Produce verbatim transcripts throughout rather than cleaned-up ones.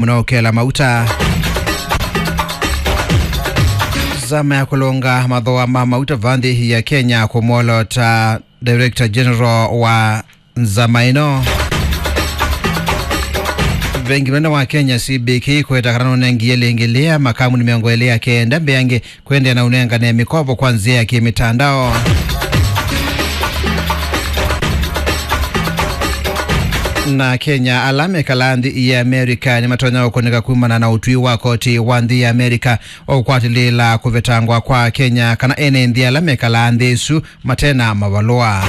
mũno ũkela mauta. Nzama ya kũlũnga mathooa ma mauta va nthĩ ya Kenya kũmwolota Director General wa nzama ĩno. Vengi mũnene wa Kenya, C B K, kweta kana nũnengie lĩngĩ lĩa makambuni mĩongo ĩlĩ ya kenda mbeange kũendeea na ũnengane mĩkovo kwa nzĩa ya kĩmĩtandao. Na Kenya, ala mekalaa nthĩ ya Amerika nĩmatonya kũkũnĩka kumana na ũtwi wa koti wa nthĩ ya Amerika wa kũkwatĩlĩĩla kũvetangwa kwa Kenya kana ene nthĩ ala mekalaa nthĩ ĩsu mate na mavalũa.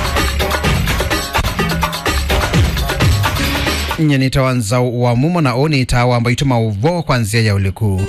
Nye nĩtawa Nzau wa Mumo, na ũũ nĩ ĩtaa wa mbaitũ maũvoo kwa nzĩa ya ũliku.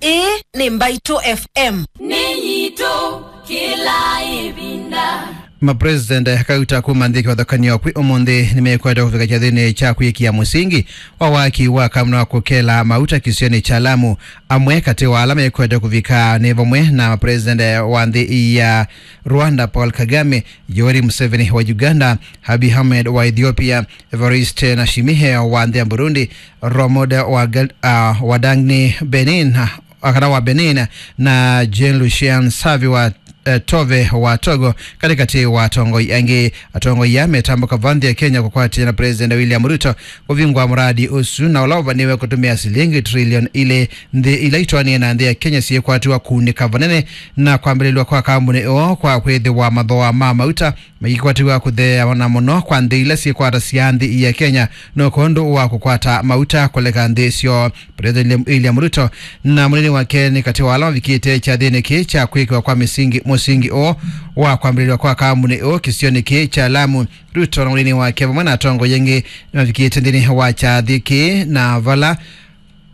Ĩĩ nĩ Mbaitũ F M. Nĩ yitũ kĩla ĩvinda. Mapresident kauta kuma nthĩ kĩvathũkany'o kwĩ ũmũnthĩ nĩmekwete kũvika kyathĩnĩ kya kwĩkĩa mũsingi wa waki wa kamũnĩ wa kũkela mauta kĩsionĩ kya Lamu. Amwe katĩ wa ala mekwete kũvika nĩ vamwe na president wa nthĩ ya Rwanda, Paul Kagame, Yoweri Museveni wa Uganda, Abiy Ahmed wa Ethiopia, Evariste Ndayishimiye wa nthĩ ya Burundi, Ramon wa Gal-, ah, wa Dangni, Benin, ah, kana wa Benin, na Jean Lucien Savy wa eh, Tove wa Togo, katĩkatĩ wa atongoi angĩ. Atongoi aa metambũka va nthĩ ya Kenya kũkwatĩana na President William Ruto kũvingũa mũradi ũsu, na ũla ũvanĩwe kũtũmĩa silingi trillion ilĩ. Nthĩ ila itwaanie na nthĩ ya Kenya syĩkwatiwa kũunĩka vanene na kwambĩlĩlw'a kwa kambuni ĩyo kwa kwĩthĩwa mathooa ma mauta maikwatiwa kũtheea na mũno kwa nthĩ ila syĩkwatasya nthĩ ya Kenya, no kwondũ wa kũkwata mauta kũleka nthĩ syoo. President William Ruto na mũnini wake nĩ katĩ wa ala mavikĩte kyathĩnĩ kĩĩ kya kwĩkĩwa kwa mĩsingi, mũsingi ũũ wa kwambĩlĩlwa kwa kambuni ũũ kĩsionĩ kĩĩ kya Lamu. Ruto na mũnini wake vamwe na atongoi angĩ nĩmavikĩte nthĩnĩ wa kyathĩ kĩĩ, na vala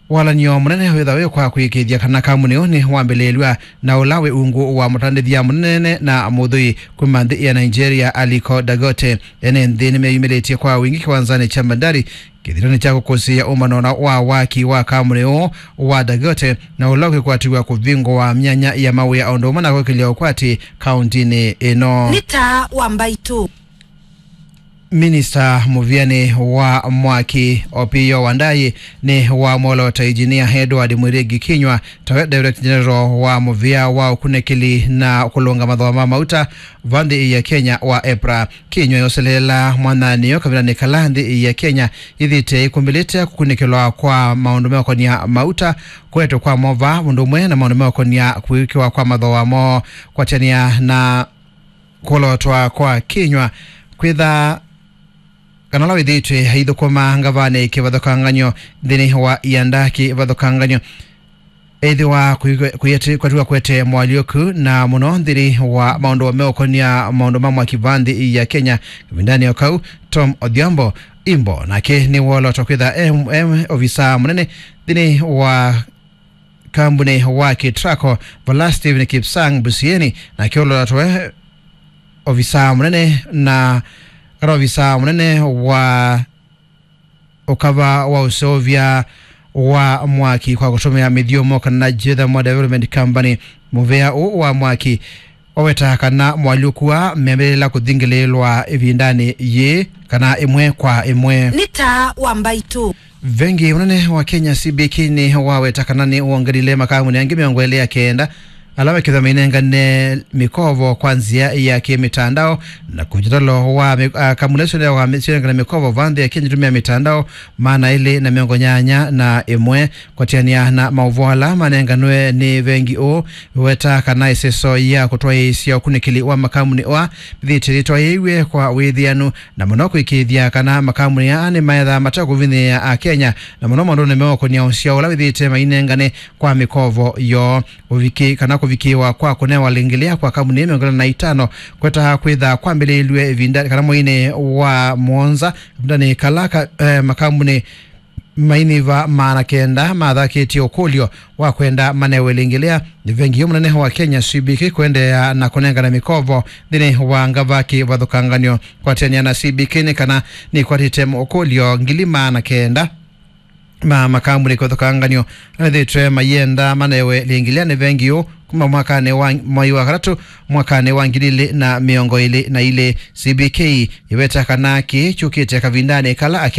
walan'yo mũnene wĩtha wĩ kwa kũĩkĩĩthya kana kambuni ũũ nĩ wambĩlĩĩlw'a na ũla wĩ ungu wa mũtandĩthya mũnene na mũthũi kuma nthĩ ya Nigeria, Aliko Dangote. Ene nthĩ nĩmeyumĩlĩtye kwa wingĩ kĩwanzanĩ kya Bandari kĩthĩnonĩ kya kũkũsĩĩa ũmbano na wa waki wa kambuni ũũ wa Dangote, na ũla ũkĩkwatiw'a kũvingũa myanya ya mawĩa o ũndũ ũmwe na kwĩkĩlya ũkwati kauntinĩ ĩno. Nĩ taa wa mbaitũ. Minista mũvĩanĩ wa mwaki Opiyo Wandayi nĩ wamwolota Engineer Edward Mwirigi Kinyua tawe Director General wa mũvĩa wa ũkunĩkĩli na kũlũnga mathooa ma mauta va nthĩ ya Kenya wa EPRA. Kinyua yoseleela mwananĩo kavindanĩ kala nthĩ ya Kenya yĩthĩte ĩkũmbĩlĩte kũkunĩkĩlwa kwa maũndũ meũkonia mauta, kũetwe kwa mova ũndũ ũmwe na maũndũ meũkonia kwĩkĩwa kwa mathooa moo, kwatania na kũlotwa kwa Kinyua kwĩtha kana ũla wĩthĩĩtwe aithũkũma ngavanĩ kĩvathũkangany'o nthĩnĩ wa ianda kĩvathũkangany'o. Ethĩwa kwatiwa kwete moalyũku na mũno nthĩnĩ wa maũndũ meũkonia maũndũ ma mwaki va nthĩ ya Kenya kavindanĩ o kau, Tom Odhiambo Imbo nake nĩwolotwa kwĩtha e, e ovisa mũnene nthĩnĩ wa kambuni wa Ketraco, vala Stephen Kipsang Busieni nake ũlolatwe ovisa mũnene na kana ovisa mũnene wa ũkava wa ũseũvya wa mwaki kwa kũtũmĩa mĩthyũmo kana Geothermal Development Company. Mũvĩa ũũ wa mwaki waweta kana moalyũku aa meambĩlĩla kũthingĩlĩĩlwa ĩvindanĩ yĩĩ kana ĩmwe kwa ĩmwe. Nĩ taa wa mbaitũ. Vengi mũnene wa Kenya, C B K, nĩ waweta kana nĩ wongelile makambuni angĩ mĩongo ĩlĩ ya kenda ala mekĩthwa mainengane mĩkovo kwa nzĩa ya kĩmĩtandao, na kũkitalo wa mĩ-, a, kambuni isu nĩ wa mĩ-, cionengane mĩkovo va nthĩ ya Kenya itumĩa mĩtandao maana elĩ na mĩongo nyanya na ĩmwe. Kwatĩanĩa na maũvoo ala manenganwe nĩ vengi ũũ, weta kana ĩseso ya kũtwaĩĩsya ũkunĩkĩli wa makambuni ũa mĩthĩte yĩtwaĩĩw'e kwa wĩthĩanu, na mũno kũĩkĩĩthya kana makambuni aa nĩmaethaa matekũvinyĩĩa Akenya, na mũno maũndũnĩ meũkonia ũsyao ũla wĩthĩĩte mainengane kwa mĩkovo yoo. Ũviki kana kũvikĩĩwa kwa kũnewa lĩngĩ lĩa kwa kambuni mĩongo ĩlĩ na itano kwetaha kwĩtha kwambĩlĩĩlw'e ĩvinda kana mweinĩ wa mũonza, ĩvindanĩ kala ka, eh, makambuni mainiva maana kenda mathakĩtye ũkũlyo wa kwenda manewe lĩngĩ lĩa. Nĩ vengi yu mũnene wa Kenya, C B K, kũendeea na kũnengana mĩkovo nthĩnĩ wa ngava kĩvathũkanganyo. Kwatĩanĩa na C B K nĩ kana nĩkwatĩte ũkũlyo ngili maana kenda ma makambuni kĩvathũkanganyo methĩtwe mayenda manewe lĩngĩ lĩa. Nĩ vengi yu kuma mwakanĩ wa mwai wa katatũ mwakanĩ wa ngili ilĩ na mĩongo ĩlĩ na ilĩ. C B K ĩweta kana kĩĩ kyũkĩte kavindanĩ kala